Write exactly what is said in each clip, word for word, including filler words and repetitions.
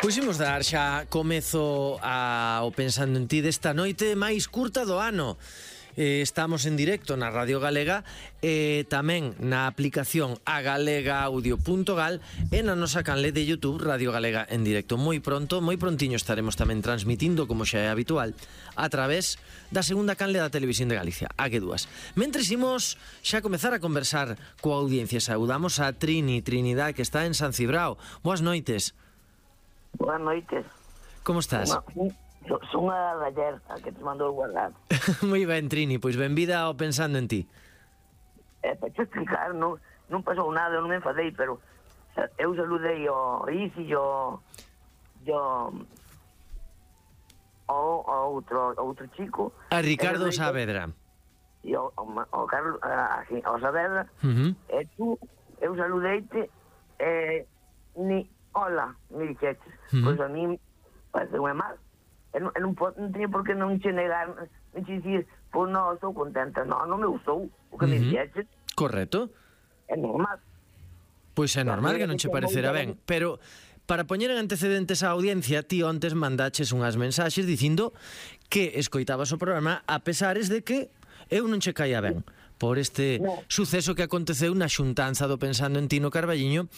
Pois imos dar xa comezo ao Pensando en Ti desta noite máis curta do ano. Eh, estamos en directo na Radio Galega e eh, tamén na aplicación agalegaaudio punto gal e na nosa canle de YouTube Radio Galega en directo. Moi pronto, moi prontiño estaremos tamén transmitindo, como xa é habitual, a través da segunda canle da Televisión de Galicia, a G dúas. Mentres imos xa comezar a conversar coa audiencia, saudamos a Trini, Trinidad, que está en San Cibrao. Boas noites. Boas noites. Como estás? Son, son a Dayer, a que te mandou guardar. Moi ben, Trini, pois benvida ao Pensando en Ti. Eh, para te explicar, non, non pasou nada, non me enfadei, pero eu saludei o Isi, o o o outro, outro chico. A Ricardo Saavedra. E o, o, o Carlos, a, o Saavedra. Uh-huh. E tú, eu saludeite, e ni hola, me dixetes. Uh-huh. Pois a mí parece unha mal. E non, non, non teño por que non che negar, non che dicir, pois non, estou contenta. Non, non me gustou o que uh-huh. me dixetes. Correcto. É normal. Pois é normal que non che parecerá ben, pero para poñer en antecedentes á audiencia, ti ontes mandaches unhas mensaxes dicindo que escoitabas o programa a pesares de que eu non che caía ben por este no. suceso que aconteceu na xuntanza do Pensando en Ti no Carballiño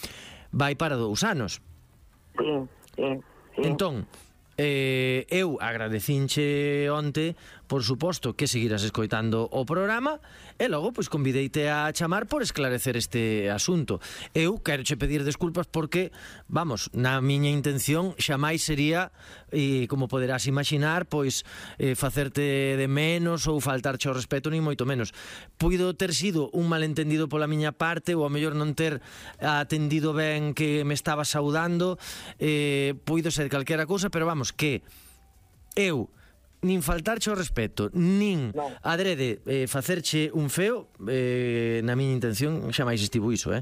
vai para dous anos. Sí, sí, sí. Entón, eh, eu agradecinche onte, por suposto, que seguiras escoitando o programa e logo, pois, convideite a chamar por esclarecer este asunto. Eu quero che pedir desculpas porque, vamos, na miña intención xamais sería, e como poderás imaginar, pois, eh, facerte de menos ou faltarche ao respeto, ni moito menos. Puido ter sido un malentendido pola miña parte ou a mellor non ter atendido ben que me estaba saudando, eh, puido ser calquera cousa, pero vamos, que eu nin faltarche ao respeto, nin no. adrede eh, facerche un feo, eh, na miña intención xa máis estivo iso, eh?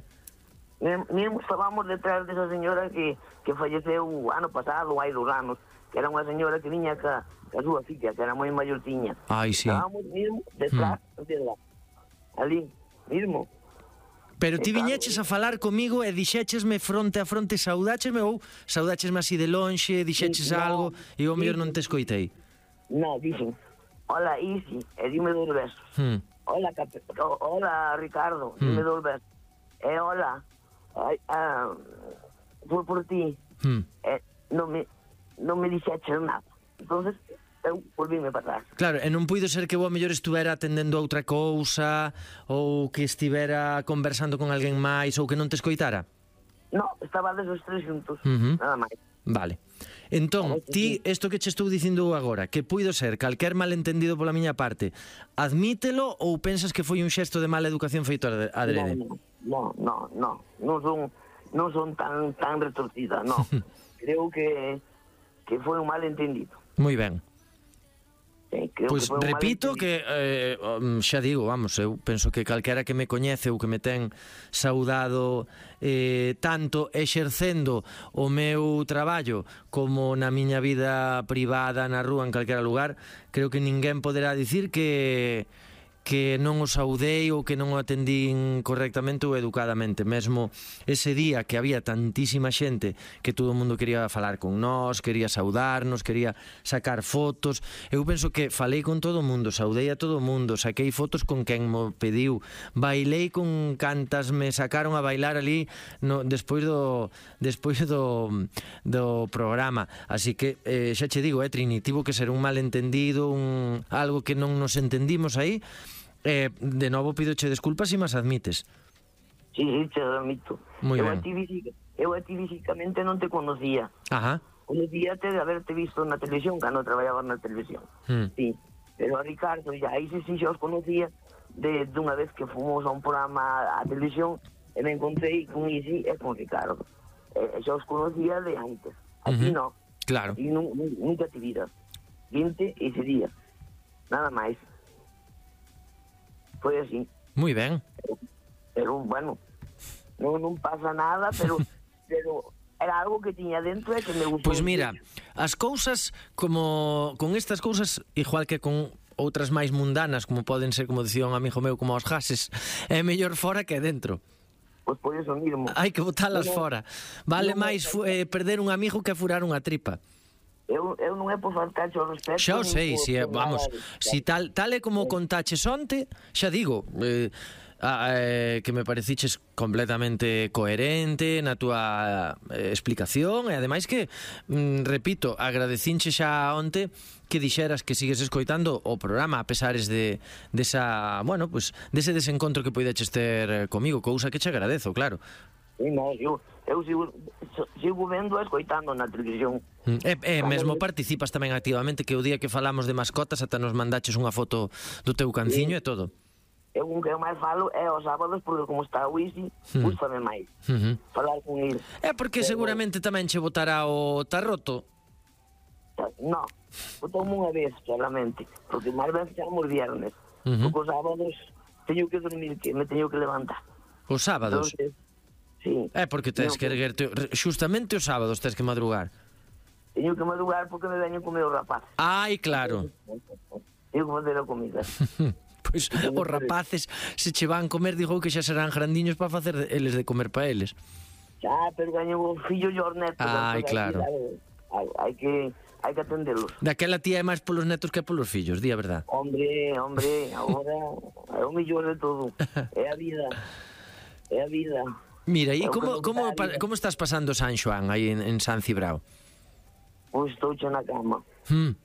Mesmo estábamos detrás desa señora que, que falleceu o ano pasado, hai dos anos, que era unha señora que viña ca, ca súa filla, que era moi maiortiña. Ai, sí. Estábamos mesmo detrás, hmm. de ali, mesmo. Pero ti viñeches a falar comigo e dixéchesme fronte a fronte, saudáchesme ou saudáchesme así de lonxe, dixeches no, algo e eu mellor non te escoitei. No, dixen, hola Isi, e dime dos besos. Hmm. Hola, Cap hola Ricardo, hmm. dime dos besos. E hola, ay, ah, foi por ti. Hmm. E non me, non me dixeches nada. Entonces, eu volvíme para atrás. Claro, e non puido ser que vos mellor estuvera atendendo a outra cousa ou que estivera conversando con alguén máis ou que non te escoitara? No, estaba desos tres xuntos, uh-huh. nada máis. Vale. Entón, ti, isto que che estou dicindo agora, que puido ser calquer malentendido pola miña parte, admítelo ou pensas que foi un xesto de mala educación feito adrede? No, no, no, non son, non son tan, tan retorcida, no. Creo que, que foi un malentendido. Moi ben. Pois pues repito que eh, xa digo, vamos, eu penso que calquera que me coñece ou que me ten saudado eh, tanto exercendo o meu traballo como na miña vida privada na rúa, en calquera lugar, creo que ninguén poderá dicir que que non o saudei ou que non o atendín correctamente ou educadamente. Mesmo ese día que había tantísima xente que todo o mundo quería falar con nós, quería saudarnos, quería sacar fotos, eu penso que falei con todo o mundo, saudei a todo o mundo, saquei fotos con quen mo pediu, bailei con cantas me sacaron a bailar ali no, despois do despois do, do programa. Así que eh, xa che digo, eh, Trini, tivo que ser un malentendido, un, algo que non nos entendimos aí. Eh, de novo pidoche desculpas e mas admites. Sí, sí, te admito. Muy eu, ben. A ti, eu a ti físicamente non te conocía. Ajá. Conocíate de haberte visto na televisión, cando traballaba na televisión. Hmm. Sí, pero a Ricardo, ya aí sí, sí, xa os conocía de, de unha vez que fomos a un programa a televisión e me encontrei con Isi e con Ricardo. E, xa os conocía de antes. Aquí uh-huh. no. Claro. E nunca te viras. Vinte ese día. Nada máis. Foi así. Moi ben. Pero, pero bueno, non, non pasa nada, pero pero era algo que tiña dentro e que me gustou. Pois mira, as cousas como con estas cousas, igual que con outras máis mundanas, como poden ser, como dicía un amigo meu, como os gases, é mellor fora que dentro. pois por iso mismo. Hai que botalas Non, fora. Vale non, máis fu- eh, perder un amigo que furar unha tripa. Eu, eu non é por faltarche o respeto. Xa o nin sei, por- si é, por vamos, nada. si tal tal é como contaches onte, xa digo, eh, a, eh, que me pareciches completamente coherente na túa eh, explicación e ademais que, mm, repito, agradecinche xa onte que dixeras que sigues escoitando o programa a pesares de desa, bueno, pues dese desencontro que poideches ter eh, comigo, cousa que che agradezo, claro. Sí, no, eu, eu sigo, sigo vendo e escoitando na televisión. E, e mesmo participas tamén activamente, que o día que falamos de mascotas ata nos mandaches unha foto do teu canciño e todo. Eu un que eu máis falo é os sábados, porque como está o Isi, Hmm. gústame máis Uh -huh. falar con ele. É porque seguramente tamén che botará o tarroto. No, botoume unha vez solamente, porque máis veces xamos viernes. Uh -huh. Porque os sábados teño que dormir, que me teño que levantar. Os sábados? Entonces, sí. É porque tens Teño que erguerte, xustamente os sábados tens que madrugar. Teño que madrugar porque me veño comer os rapaces. Ai, claro. Teño que fazer a comida. Pois os rapaces se che van comer, digo que xa serán grandiños para facer eles de comer para eles. Xa, pero gaño os fillos e os netos. Ai, entonces claro. Hai, hai que hai que atendelos. Daquela tía é máis polos netos que polos fillos, di a verdad. Hombre, hombre, agora é o mellor de todo. É a vida. É a vida. Mira, e É o como, que como, non pa- sabía. como estás pasando San Xoán aí en, en San Cibrao? Pois estou xa na cama. Hmm.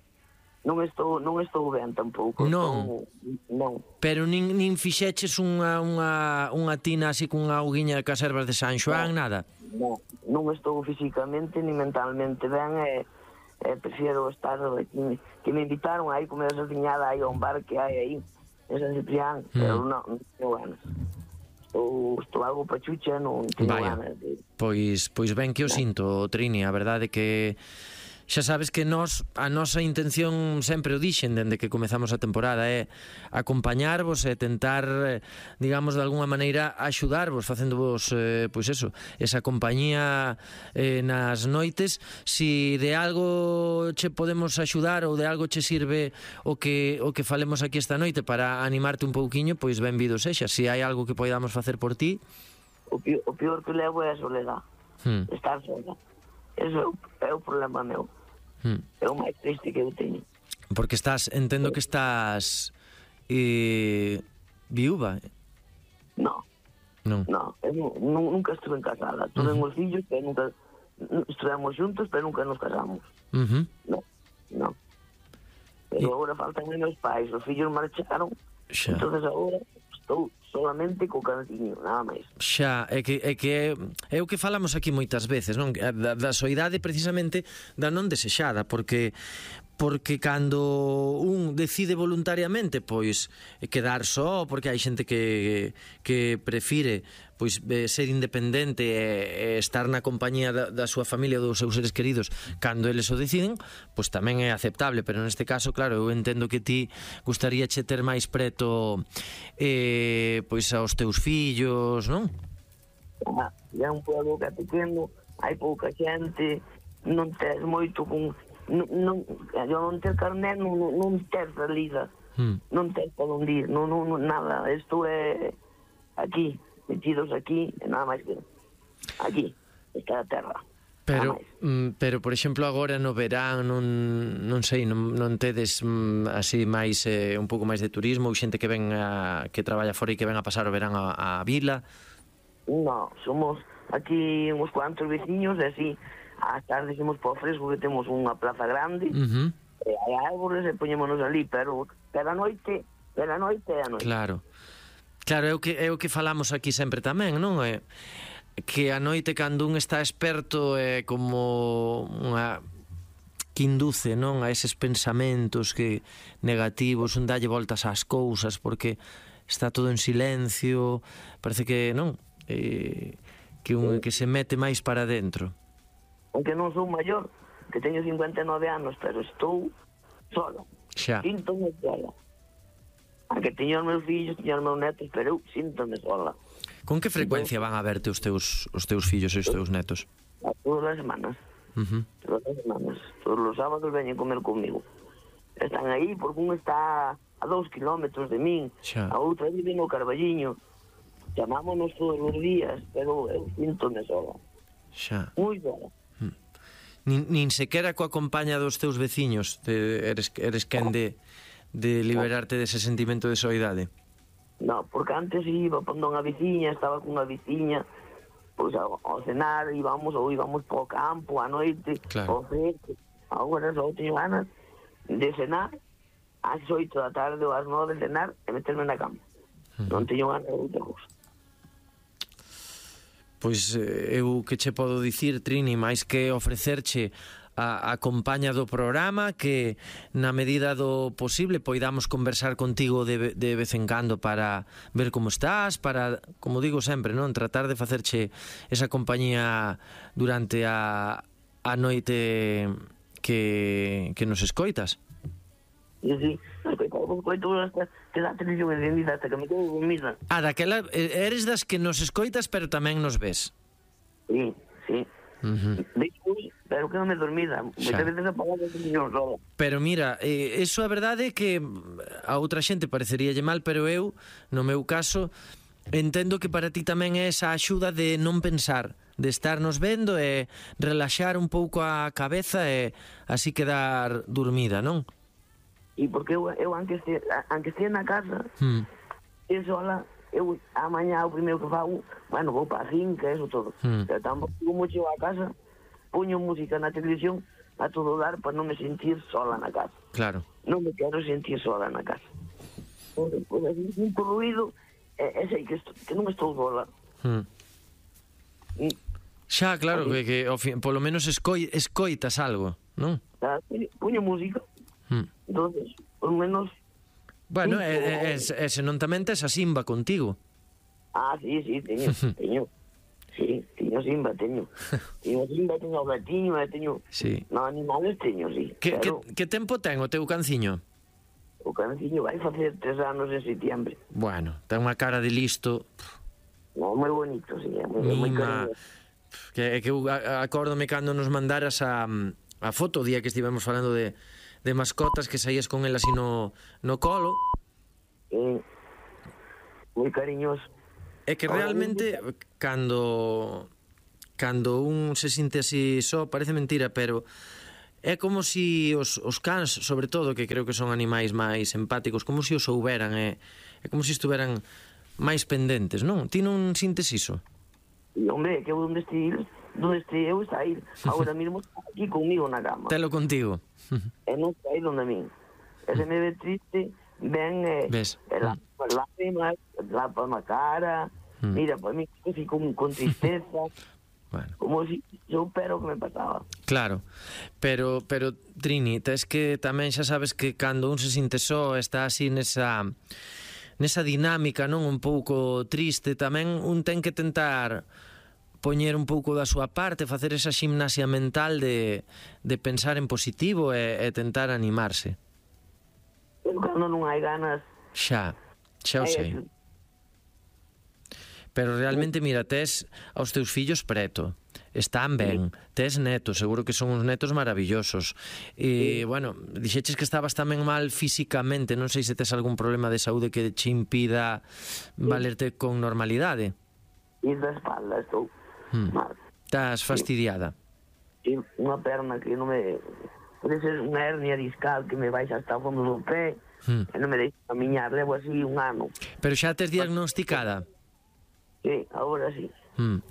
Non estou, non estou ben tampouco. Non. Estou, non. Pero nin, nin fixeches unha, unha, unha tina así cunha auguiña de caservas de San Xoán, nada? Non, non estou físicamente ni mentalmente ben e, e prefiero estar aquí. Que me invitaron aí comer esa ciñada aí a un bar que hai aí en San Ciprián, Mm. pero non, non tengo ganas. Estou, estou algo pachucha, non teño Vaya. ganas de... Pois, pois ben que o sinto, Trini, a verdade que xa sabes que nós, a nosa intención sempre o dixen dende que comezamos a temporada é acompañarvos e tentar, eh, digamos, de alguna maneira axudarvos, facéndovos, eh, pois eso, esa compañía eh, nas noites. Si de algo che podemos axudar ou de algo che sirve o que o que falemos aquí esta noite para animarte un pouquiño, pois benvido sexa. Si hai algo que poidamos facer por ti. O pior, o pior que levo é a soledad. Hmm. Estar sola. Eso é o, é o problema meu. Hmm. É o máis triste que eu teño. Porque estás, entendo que estás eh, viúva. No, Non. no, eu nu- nu- nunca estuve en casada. Tuve Ujú. uh -huh. fillos, pero nunca estuvemos juntos, pero nunca nos casamos. Uh -huh. No, no. Pero E- agora faltan meus pais, os fillos marcharon, Xa. entonces agora estou solamente co canciño, nada máis. Xa, é que, é que é o que falamos aquí moitas veces, non? Da, da soidade precisamente da non desexada, porque porque cando un decide voluntariamente pois quedar só, porque hai xente que, que prefire pois eh, ser independente e, e estar na compañía da, da súa familia ou dos seus seres queridos cando eles o deciden, pois tamén é aceptable, pero neste caso, claro, eu entendo que ti gustaríache ter máis preto eh, pois aos teus fillos, non? Ah, é un pueblo que é pequeno, hai pouca xente, non tes moito con... Non, non, eu non ter carné, non, non, non ter salida, Hmm. non ter para onde ir, non, non, non, nada, isto é aquí, metidos aquí, e nada máis que aquí, está a terra. Pero, Nada máis. mm, pero por exemplo, agora no verán non, non sei, non, non tedes mm, así máis eh, un pouco máis de turismo ou xente que ven a, que traballa fora e que ven a pasar o verán a, a vila? No, somos aquí uns cuantos veciños e así, ás tardes imos para o fresco que temos unha plaza grande, Uh -huh. e hai árbores e poñémonos ali, pero pero a noite, pero a noite é a noite. Claro. Claro, é o que é o que falamos aquí sempre tamén, non? É que a noite cando un está experto é como unha que induce, non, a eses pensamentos que negativos, un dalle voltas ás cousas porque está todo en silencio, parece que, non, eh, que un que se mete máis para dentro. Aunque non sou maior, que teño cincuenta e nove anos, pero estou solo. Xa. Síntome sola. Aunque teño os meus fillos, teño os meus netos, pero eu síntome sola. Con que frecuencia van a verte os teus os teus fillos e os teus netos? A todas as semanas. Uh -huh. Todas as semanas. Todos os sábados veñen comer comigo. Están aí porque un está a dous kilómetros de min, Xa. a outra vive no Carballiño. chamámonos todos os días, pero eu síntome sola. Xa. Moi sola. Nin, nin sequera coa compaña dos teus veciños te, eres, eres quen de, de liberarte dese sentimento de soidade? No, porque antes iba pondo unha veciña, estaba cunha veciña, pois ao, ao cenar íbamos ou íbamos po campo a noite, claro. ao fresco. Agora só teño ganas de cenar ás oito da tarde ou ás nove de cenar e meterme na cama. Uh-huh. Non teño ganas de outra cousa. Pois eu que che podo dicir, Trini, máis que ofrecerche a, a compaña do programa, que na medida do posible poidamos conversar contigo de, de vez en cando para ver como estás, para, como digo sempre, non, tratar de facerche esa compañía durante a, a noite que, que nos escoitas. Sí, sí, escoito hasta que da televisión encendida hasta que me quedo dormida. Ah, daquela, eres das que nos escoitas pero tamén nos ves. Sí, sí. Uh-huh. Despois, pero que non me dormida. Moitas veces apagado a televisión solo. Pero mira, eh, eso a verdade é que a outra xente pareceríalle mal, pero eu, no meu caso, entendo que para ti tamén é esa axuda de non pensar, de estarnos vendo e relaxar un pouco a cabeza e así quedar dormida, non? E porque eu, eu aunque estea, aunque estea na casa, hmm. eu sola, eu amanhã o primeiro que fago, bueno, vou para a finca, eso todo. Hmm. Pero tampouco como chego a casa, puño música na televisión a todo dar para non me sentir sola na casa. Claro. Non me quero sentir sola na casa. Porque, porque así, sinto ruido, e, e sei que, estou, que non estou sola. Hmm. E, xa, claro, que, que ao fin, polo menos escoi, escoitas algo, non? Puño música. Hmm. Entonces, por menos... Bueno, e, e, e, se non tamén tes a Simba contigo. Ah, sí, sí, teño, teño. Sí, teño Simba, teño. Teño Simba, teño o gatiño, teño... Sí. No, animales teño, sí. Que, pero... que, que tempo ten o teu canciño? O canciño vai facer tres anos en setiembre. Bueno, ten unha cara de listo. No, moi bonito, sí, é moi, moi cariñoso. Que, que eu acórdome cando nos mandaras a, a foto o día que estivemos falando de... de mascotas, que saías con elas así no, no colo. Eh, moi cariñoso. É que realmente cando cando un se sinte así só, parece mentira, pero é como si os, os cans, sobre todo, que creo que son animais máis empáticos, como si os souberan, é, é como si estuveran máis pendentes, non? Ti non sintes iso? E, hombre, que eu onde estive, donde este eu está aí, agora mesmo aquí conmigo na cama. Telo contigo. E non está aí donde a min. E se me ve triste, ven e eh, las lágrimas, lapa na cara, mm. mira, para mí así con, con tristeza, bueno. Como si eu pero que me pasaba. Claro, pero, pero Trini, tes que tamén xa sabes que cando un se sinte só, está así nesa... nesa dinámica, non, un pouco triste, tamén un ten que tentar poñer un pouco da súa parte, facer esa ximnasia mental de, de pensar en positivo e, e tentar animarse. Pero cando non hai ganas... Xa, xa o sei. Pero realmente, mira, tes aos teus fillos preto, están ben, tes netos, seguro que son uns netos maravillosos. E, bueno, dixeches que estabas tamén mal físicamente, non sei se tes algún problema de saúde que te impida valerte con normalidade. E da espalda estou hmm. mal. Estás fastidiada? Sí, unha perna que non me... Pode ser unha hernia discal que me baixa hasta o fondo do pé hmm. e non me deixa camiñar, levo así un ano. Pero xa tes diagnosticada? Sí, agora sí. Hmm.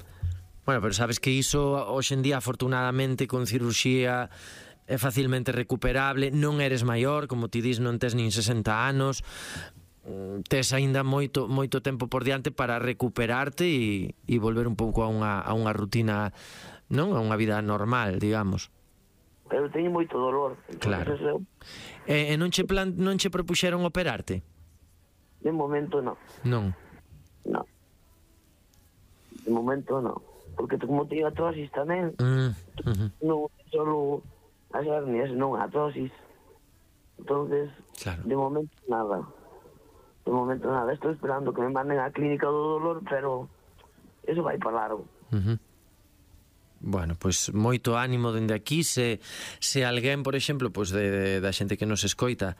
Bueno, pero sabes que iso hoxe en día, afortunadamente, con cirurxía é facilmente recuperable, non eres maior, como ti dis, non tes nin sesenta anos, tes aínda moito moito tempo por diante para recuperarte e, e volver un pouco a unha, a unha rutina, non? A unha vida normal, digamos. Pero teño moito dolor. Claro. Eu... E, e non che plan, non che propuxeron operarte? De momento non. Non. Non. De momento non. Porque como teño artrosis tamén, mm, uh-huh. non solo as hernias, non a artrosis. Entonces, claro. De momento nada. De momento nada. Estou esperando que me manden á clínica do dolor, pero eso vai para largo. Uh-huh. Bueno, pois moito ánimo dende aquí. Se, se alguén, por exemplo, pois de, de, da xente que nos escoita,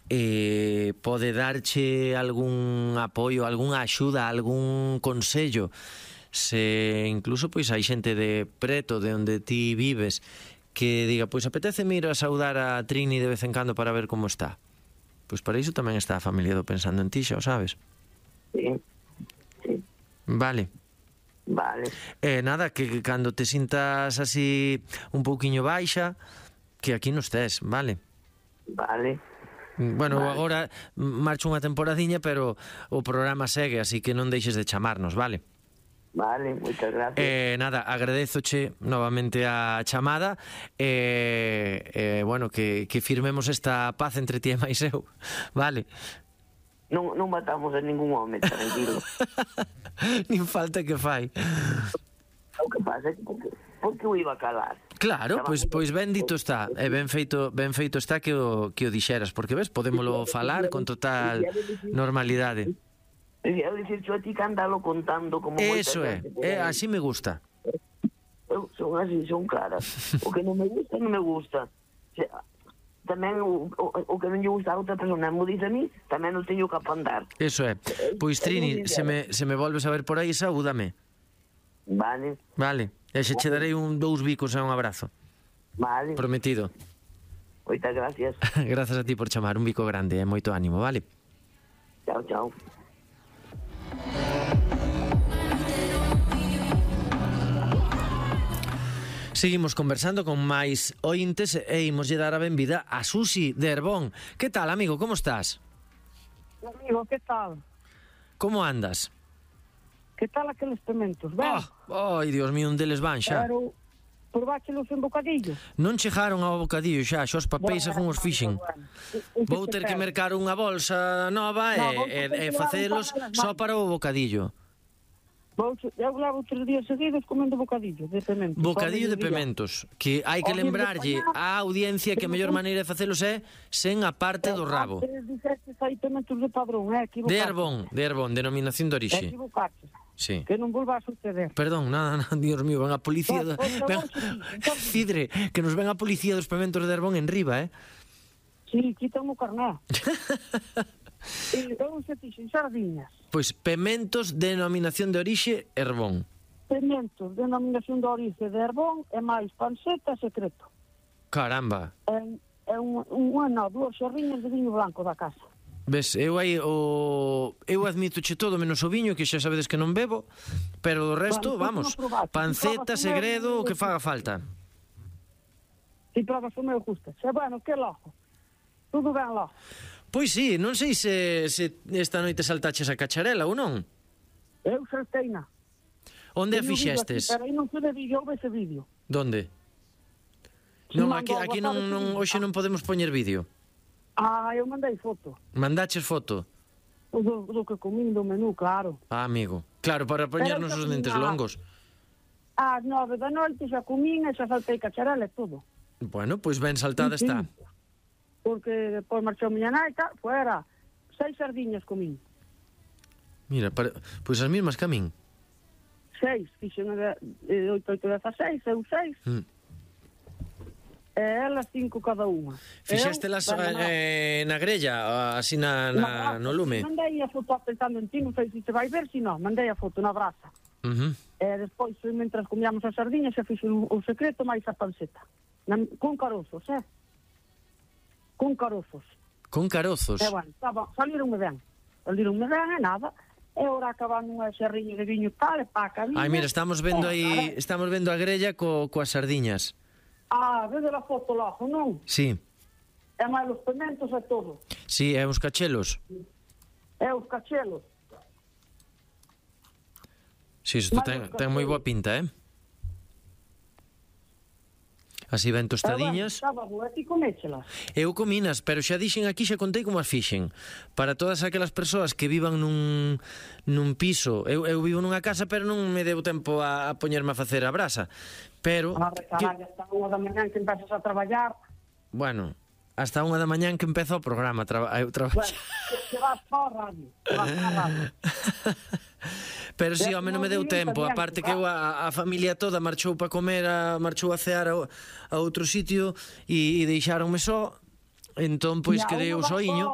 eh, pode darche algún apoio, algunha axuda, algún consello, se incluso pois hai xente de preto de onde ti vives que diga, pois apetece ir a saudar a Trini de vez en cando para ver como está, pois para iso tamén está a familia do Pensando en Ti, xa o sabes. Sí, sí. Vale. Vale. Eh, nada, que cando te sintas así un pouquiño baixa, que aquí nos tes, vale? Vale. Bueno, vale. Agora marcho unha temporadiña, pero o programa segue, así que non deixes de chamarnos, vale? Vale, moitas gracias. Eh, nada, agradezoche novamente a chamada e eh, eh, bueno, que, que firmemos esta paz entre ti e máis eu, vale? Non, non matamos a ningún home, tranquilo. Nin falta que fai. O que pasa é que porque, porque o iba a calar. Claro, pois pois ben dito está, e ben feito ben feito está que o que o dixeras, porque ves, podémolo falar con total normalidade. Eu dicir a ti que andalo contando como Eso é, é así me gusta. Eu son así, son claras. O que non me gusta, non me gusta. O sea, tamén o, o, o que non lle gusta a outra persona me dice a mí, tamén o teño que apandar. Eso é. Pois Trini, se me, se me volves a ver por aí, saúdame. Vale. Vale. E xe che darei un dous bicos e un abrazo. Vale. Prometido. Moitas gracias. Grazas a ti por chamar, un bico grande e moito ánimo, vale? Chao, chao. Seguimos conversando con máis ointes e imoslle dar a benvida a Susi de Herbón. Que tal, amigo, como estás? Amigo, que tal? Como andas? Que tal aqueles pementos? Ben? Oh, ai, Dios mío, un deles van xa. Pero probáchelos en bocadillo? Non chegaron ao bocadillo xa, xa os papéis bueno, según os fixen. Bueno, bueno. Vou ter que mercar unha bolsa nova no, e, e, e facelos só para o bocadillo. Eu levo tres días seguidos comendo bocadillo de pementos. Bocadillo de pementos, que hai que lembrarlle á audiencia que a mellor maneira de facelos é sen a parte do rabo. Hai pementos de padrón, é equivocaste. De Herbón, de Herbón, denominación de orixe. Equivocaste. Sí. Que non volva a suceder. Perdón, nada, nada, Dios mío, ven a policía do... ven... Cidre, que nos ven a policía dos pementos de Herbón en riba, eh? Sí, quitan o carné. E eu se fixen sardiñas. Pois pementos de denominación de orixe Herbón. Pementos de denominación de orixe de Herbón e máis panceta secreto. Caramba. É, é un, un ano, dúas xerriñas de viño blanco da casa. Ves, eu aí o... eu admitoche todo menos o viño, que xa sabedes que non bebo, pero do resto, bueno, vamos, panceta, segredo, o que faga falta. Si probas o meu gusta. Se bueno, que lojo. Tudo ben lojo. Pois sí, non sei se, se esta noite saltaches a cacharela ou non. Eu salteina. Onde a fixestes? Pero aí non pude vídeo, houve ese vídeo. Donde? Non, aquí, aquí non, non, hoxe non podemos poñer vídeo. Ah, eu mandei foto. Mandaches foto? Do, do que comín do menú, claro. Ah, amigo. Claro, para poñernos os dentes longos. Ás nove da noite xa comín e xa saltei cacharela e todo. Bueno, pois ben saltada sí, está. Sí. Porque depois marchou miña nai, fuera, seis sardiñas comín. Mira, para, pois as mismas que a min. Seis, fixen de oito, oito, dezaseis, eu seis. Mm. E elas cinco cada unha. Fixéstelas eh, na grella, así na, na, no lume? Mandei a foto Pensando en Ti, non sei se te vai ver, si non, mandei a foto na brasa. Uh -huh. E despois, mentras comíamos as sardiñas, se fixen o secreto máis a panceta. Na, con carozos, eh? Con carozos. Con carozos? E, bueno, estaba, salironme ben. Salironme ben e nada. E ora acaban unha xerriña de viño tal, e pa camiña. Ai, mira, estamos vendo aí, estamos vendo a grella co, coas sardiñas. Ah, vede a foto logo, non? Sí. E máis os pementos e todo. Sí, e os cachelos. E os cachelos. Sí, isto ten, ten moi boa pinta, eh? Así ben tostadiñas. Estaba boa, ti coméchelas? Eu cominas, pero xa dixen aquí, xa contei como as fixen. Para todas aquelas persoas que vivan nun, nun piso, eu, eu vivo nunha casa, pero non me deu tempo a, a poñerme a facer a brasa. Pero... A recaralla, hasta unha da mañán que empezas a traballar. Bueno, hasta unha da mañán que empeza o programa, traba, eu traballo. Bueno, que vas para a radio, que vas para a radio. Pero si, home, non me deu tempo. Aparte que eu, a, a familia toda marchou para comer, a, marchou a cear a, a outro sitio e, e deixáronme só. Entón, pois, quedei o soiño.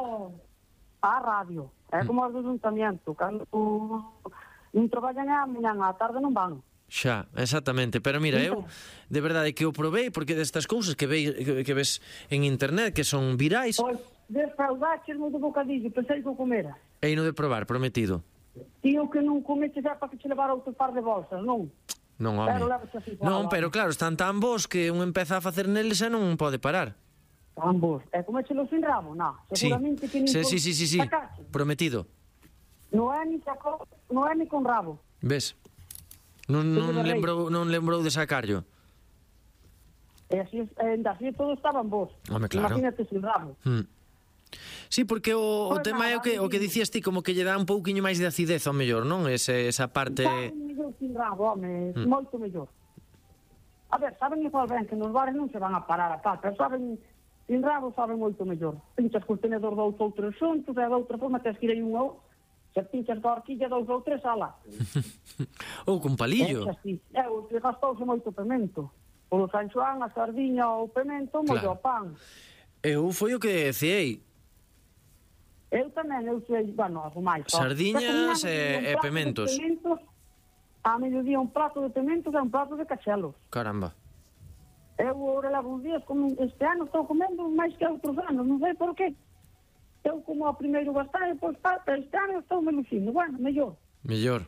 A radio. É como os do ayuntamiento. Cando non traballan a mañan, a tarde non van. Xa, exactamente. Pero mira, eu de verdade que o probei, porque destas cousas que, veis, que, que ves en internet que son virais. Pois, desfraudaches-me do bocadillo, pensei que o comera. E no de probar, prometido. Tío, que non comeches é para que te levara outro par de bolsas, non? Non, home. Non, pero claro, están tan bons que un empeza a facer neles e non pode parar. Tan bons. E comechelo sin rabo? Non, seguramente que nin sí, sí, sí, sí, sí. Prometido. Non é ni saco, non é ni con rabo. Ves? Non, non, lembrou, non lembrou de sacarlo. E así, en así todos estaban vos. Home, claro. Imagínate sin rabo. Hmm. Sí, porque o, o tema é o que, o que dicías ti, como que lle dá un pouquiño máis de acidez ao mellor, non? Ese, esa parte... Saben mellor sin rabo, home, hmm. moito mellor. A ver, saben igual ben que nos bares non se van a parar a pata, saben... Sin rabo saben moito mellor. Pinchas cos tenedor dous ou tres xuntos, e de outra forma tens que ir aí un ou... Se pinchas da horquilla dous ou tres, ala. Ou con palillo. É, así. É, o que gastouse moito pemento. O San Xoán, a sardiña, o pemento, mollo o pan. Eu foi o que decíei. Eu tamén, eu sei, bueno, algo máis. Sardiñas e, e pementos. pementos. A mediodía un prato de pementos e un prato de cachelos. Caramba. Eu agora levo uns días, como este ano estou comendo máis que outros anos, non sei por qué. Eu como ao primeiro bastar, e depois este ano estou melucindo. Bueno, mellor. Mellor.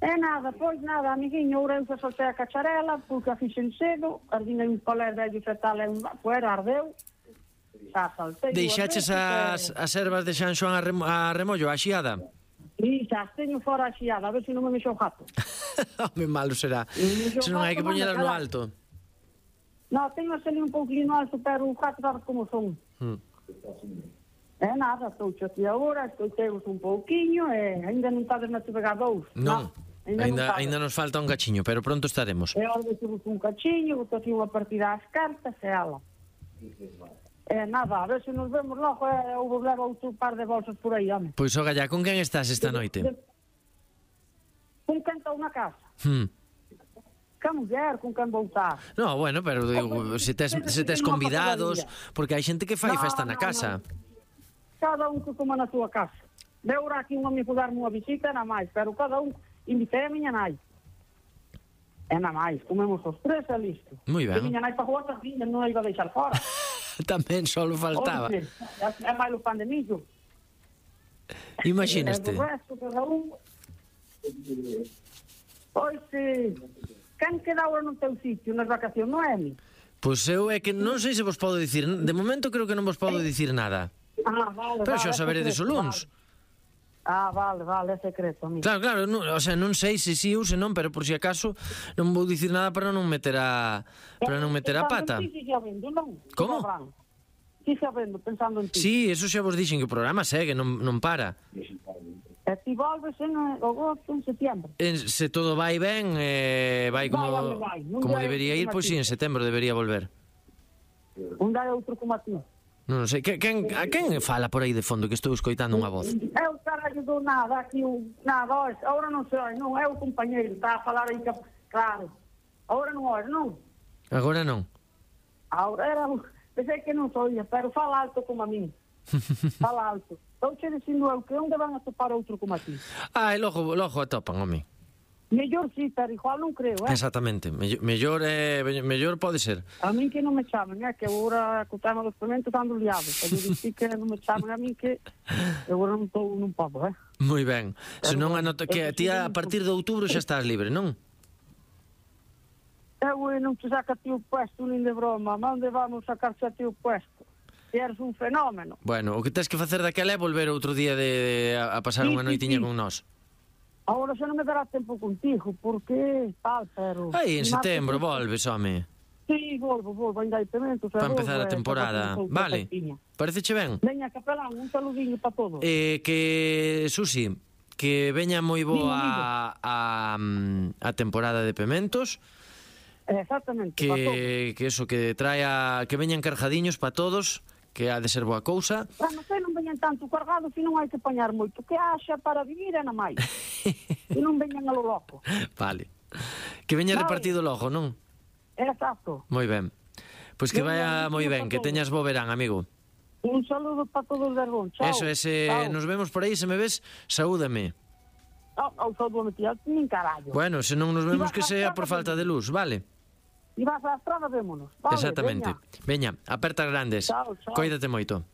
É nada, pois nada, amiguinho, ora eu soltei a cacharela, porque a fixen cedo, ardinei un colé vello fetal e un fuera, ardeu. Deixaches as, as ervas de San Xoán a, remo, a remollo, a xiada? Sí, xa, teño fora a xiada, a ver se non me mexo o gato. Home, malo será. Se non hai que poñelas no alto. Non, teño así un pouquinho no alto, pero o gato sabes como son. Hmm. É nada, estou aquí agora, estou teus un pouquiño e ainda non estades na T V G dous. Non, ainda, ainda, ainda nos falta un cachiño, pero pronto estaremos. E ahora vos un cachiño, vos aquí unha partida ás cartas e ala. É nada, a ver se nos vemos logo e ou vos leva outro par de bolsas por aí, home. Pois, oga, ya, con quen estás esta noite? Con quen estou na casa. Hmm. Que muller, con quen voltar. No, bueno, pero digo, se tes, se tes convidados, porque hai xente que fai festa na casa. Cada un que coma na túa casa. De ahora aquí un amigo darme unha visita, na máis, pero cada un invitei a miña nai. E na máis, comemos os tres e listo. Moi ben. E miña nai para jugar sardiñas non a iba a deixar fora. Tamén só faltaba. Oye, é máis o pan de millo. Imagínate. E o resto, cada un... Pois, eh, quen queda agora no teu sitio, nas vacacións, non é mi? Pois eu é que non sei se vos podo dicir, de momento creo que non vos podo dicir nada. Ah, vale, pero vale, xa saberedes o luns. Vale. Ah, vale, vale, é secreto, amigo. Claro, claro, non, o sea, non sei se si ou se non, pero por si acaso non vou dicir nada para non meter a para non meter a pata. Sí, sí, xa vendo, non? Como? Sí, xa vendo, pensando en ti. Sí, eso xa vos dixen que o programa segue, non, non para. E ti volves en agosto, en setiembre. En, se todo vai ben, eh, vai como, vai, vai. como debería ir, pois pues, sí, en setembro debería volver. Un dá outro como a ti. Non sei, que, quen, a quen fala por aí de fondo que estou escoitando unha voz? Eu carallo do nada, aquí un, nada, agora non sei, non, é o compañeiro, está a falar aí, claro. Agora non oi, non? Agora non? Agora era, pensei que non soia, pero fala alto como a mí. Fala alto. Estou che dicindo eu que onde van a topar outro como a ti. Ah, e logo, logo atopan, home. Mellor sí, pero igual non creo, eh? Exactamente, mellor, mellor, eh, mellor pode ser. A min que non me chamen, eh? Que agora co tema dos pementos ando liado. Eu dixi que non me chamen a min que agora non estou nun pobo, eh? Moi ben. Se non anota que ti a partir de outubro xa estás libre, non? Eu non te saca ti o puesto nin de broma. Onde vamos sacarse a ti o puesto? E eres un fenómeno. Bueno, o que tens que facer daquela é volver outro día de, de a pasar sí, unha noitiña sí, sí. con nós. Agora xa non me dará tempo contigo, porque tal, pero... Aí, en setembro, volves, home. Sí, volvo, volvo, ainda hai pementos. Para empezar a temporada. Vale, pareceche ben? Veña, capelán, un saludiño para todos. Eh, que, Susi, que veña moi boa a, a, a temporada de pementos. Exactamente, que, para todos. Que eso, que traia, que veñan carjadiños para todos, que ha de ser boa cousa. Ah, non sei, non veñan veñan tanto cargados e non hai que apañar moito, que haxa para vivir e na máis. E non veñan a lo loco. Vale. Que veña Vale. repartido logo, non? Exacto. Moi ben. Pois que Veña, vaya moi ben, que teñas bo verán, amigo. Un saludo para todos de Arbón. Chao. Eso, ese, Chao. nos vemos por aí, se me ves, saúdame. Oh, oh, saúdo, tía, nin carallo. Bueno, se non nos vemos que sea por falta de luz, vale? E vas á estrada, vémonos. Vale, Exactamente. veña. Veña, apertas grandes. Chao, chao. Cóidate moito.